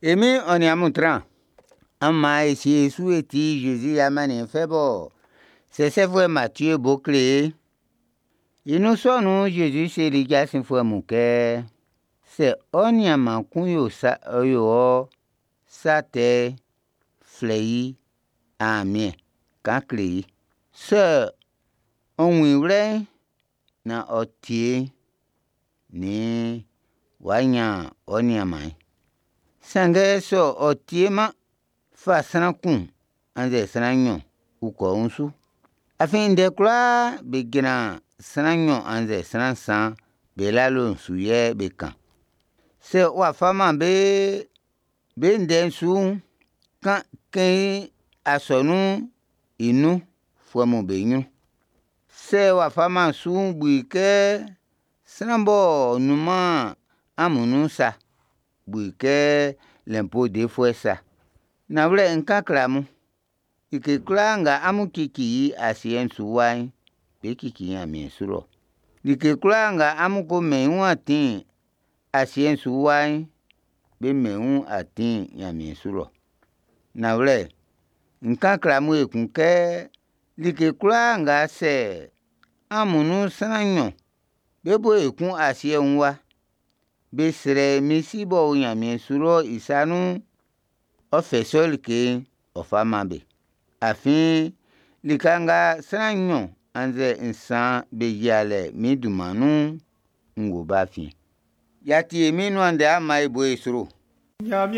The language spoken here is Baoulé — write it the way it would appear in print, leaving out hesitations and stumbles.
E Min'n ɔ nin amun tran. An man e sie e su e tie Zezi i amanniɛn fɛ bɔ sɛsɛfuɛ Matie bo kle ye'n. I nun sɔ nun'n, Zezi seli jasinfuɛ mun kɛ, sɛ ɔ nianman kun yo sa ɔ yo ɔ sa tɛ'n, flɛ i aamiɛn kan kle i. Sɛ ɔ wun i wlɛ'n, nan ɔ tie'n, nn w'a nyan ɔ nianman'n. Sanngɛ sɛ ɔ tieman'n, fa sran kun annzɛ sran nnyɔn ukɔ wun su. Afin ndɛ kwlaa be jran sran nnyɔn annzɛ sran nsan be lalo'n su yɛ be kan. Sɛ w'a fa-man be ndɛ'n su'n, kɛn i asɔnun'n i nunfuɛ'm be nyrun. Sɛ w'a fa-man su'n, bu i kɛ sran b'ɔ nun-man amun nun'n sa, bu i kɛ lɛnpo defuɛ sa. Nanwlɛ, n ʼkan kle amun, like kwlaa nga amun cici i asiɛ'n su wa'n, be ʼcici nyanmiɛn su lɔ. Like kwlaa nga amun ko mɛn i wun atin asiɛ'n su wa'n, be ʼmɛn i wun atin nyanmiɛn su lɔ. Nanwlɛ, n ʼkan kle amun ekun kɛ like kwlaa nga sɛ amun nun sran nnyɔn bé bo yo kun asiɛ wun wa be srɛ min Si b'ɔ o nyanmiɛn su lɔ'n i sa nun'n, ɔ ʼfɛ i sɔ like'n ɔ ʼfa man be. Afin lika nga sran nnyɔn annzɛ nsan be yia lɛ min dunman nun'n, n wo be afiɛn. Y'a ti e Min'n i nuan ndɛ, an man e bo e sro. Ɲanmiɛn.